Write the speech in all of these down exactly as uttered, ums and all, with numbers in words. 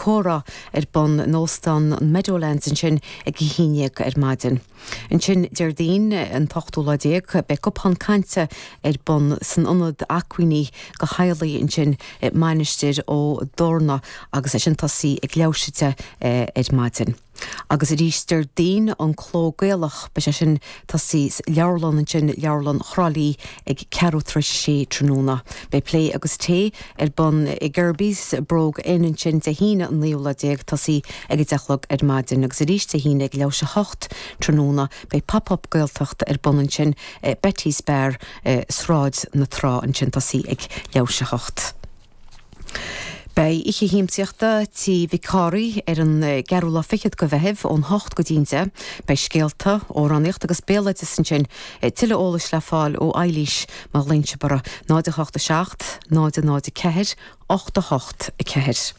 comhrá ar bun in Óstán an Meadowlands ansin ag a haon déag ar maidin. Ansin Déardaoin an t-ochtú lá déag beidh cupán cainte ar bun san ionad acmhainní do theaghlaigh ansin i Mainistir Ó dTorna agus é sin tosaí ag leathuair tar éis a deich ar maidin. Agus arís Déardaoin an Cló Gaelach beidh sé sin tosaí sa leabharlann ansin leabharlann Thrá Lí ag ceathrú tar éis a sé tráthnóna. Beidh plé agus tae ar bun i Gerby's Brogue Inn ansin Dé hAoine an naoú lá déag tosaí ag a deich a chlog ar maidin agus arís Dé hAoine ag leathuair tar éis a hocht tráthnóna beidh pop-up Gaeltacht ar bun ansin Betty's Bar Sráid na Trá ansin tosaí ag leathuair tar éis a hocht. Beidh oíche shiamsaíochta Tí Mhic Cárthaigh ar an gceathrú lá fichead de Mheitheamh ón hocht go dtí an deich. Beidh scéalta, amhránaíocht agus béaloideas ansin. Tuilleadh eolais le fáil ó Eilís má ghlaonn sibh uirthi náid a hocht a seacht, náid a náid a ceathair, ocht a hocht a ceathair.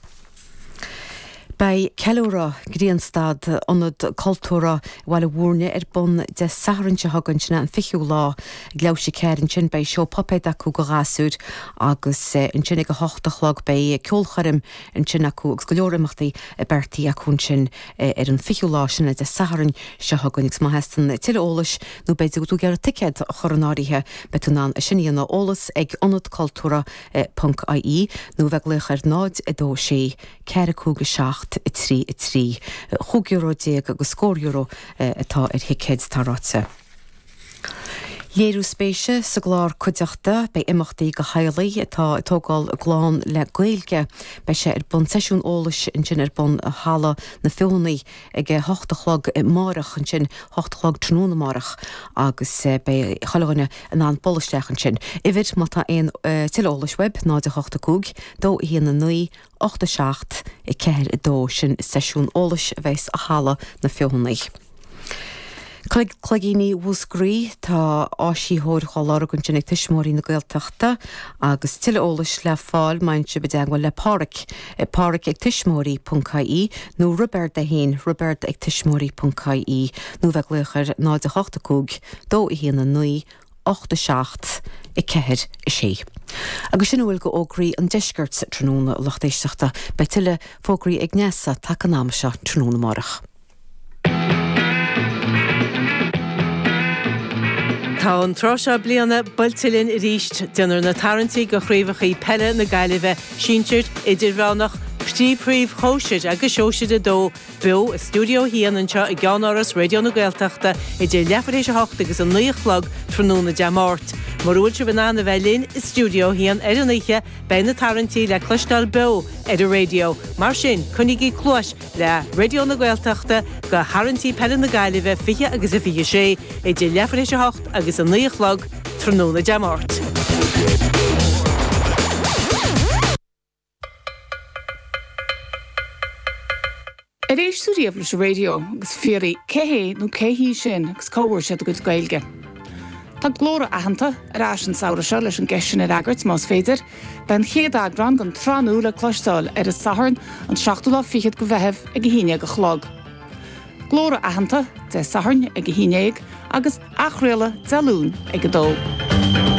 Beidh ceiliúradh Grianstad Ionad Cultúrtha Bhaile Bhúirne ar bun Dé Sathairn seo chugainn sin an fichiú lá ag leathuair tar éis a ceathair ansin beidh seó puipéad acu do ghasúir agus ansin ag a hocht a chlog beidh ceolchoirm ansin acu agus go leor imeachtaí beartaithe acu ansin ar an fichiú lá sin Dé Sathairn seo chugainn agus má theastaíonn tuilleadh eolais nó b'fhéidir go dtig ticéad a chur in áirithe beidh tú in ann sin a dhéanamh eolas ag ionad cultúrtha ponc IE nó bheith ag glaoch ar náid a dó sé ceathair cúig a seacht a trí a trí. Chúig euro déag agus scór euro atá ar thicéid tá ráite. Léiriú spéise sa gclár cuideachta beidh imeachtaí do theaghlaigh atá ag tógáil a gclann le Gaeilge. Beidh sé ar bun seisiún eolais ansin ar bun i Halla na Feothanaí ag a hocht a chlog amárach ansin hocht a chlog tráthnóna amárach agus beidh chuile dhuine in ann bualadh isteach ansin. Uimhir má tá aon tuilleadh eolais uaibh náid a hocht a cúig, dó a haon a naoi, ocht a seacht, a ceathair a dó sin seisiún eolais a bheas i Halla na Feothanaí. Cloigíní Mhúscraí tá áisitheoir á lorg ansin ag Tuismitheoirí na Gaeltachta agus tuilleadh eolais le fáil má théann sibh i dteagmháil le Páraic, Páraic ag tuismitheoirí ponc IE nó Roibeard é féin Roibeard ag tuismitheoirí ponc IE nó bheith ag glaoch ar náid a hocht a cúig, dó a haon a naoi, ocht a seacht, a ceathair a sé. Agus sin a bhfuil d'fhógraí an deiscirt tráthnóna lucht éisteachta, beidh tuilleadh fógraí ag Neasa taca an am seo tráthnóna amárach. Tá an tráth seo bliana buailte linn arís. Déanfar na tarraingtí do chraobhacha peile na Gaillimhe, sinsir, idirmheánach, príomhchraobh shóisir agus sóisir a dó, beo i stiúideo a haon anseo i gceannáras Raidió na Gaeltachta idir leathuair tar éis a hocht agus a naoi a chlog tráthnóna Dé Máirt. Mura bhfuil sibh in ann a bheith linn i stiúideo a haon ar an oíche, beidh na tarraingtí le cloisteáil beo ar an raidió. Mar sin, coinnígí cluais le Raidió na Gaeltachta do tharraingtí peile na Gaillimhe fiche agus a fiche sé idir leathuair tar éis a hocht agus a naoi a chlog tráthnóna Dé Máirt. Ar éist tú riamh leis an raidió agus fiafraí cé hé nó cé hí sin agus cá bhfuair siad a gcuid Gaeilge? Tá Glór Aitheanta ar ais an samhradh seo leis an gceist sin a fhreagairt, más féidir. Beidh an chéad eagrán den tsraith nua le cloisteáil ar an Satharn, an seachtú lá fichead de Mheitheamh ag a haon déag a chlog. Glór Aitheanta, Dé Sathairn ag a haon déag agus athchraoladh Dé Luain ag a dó.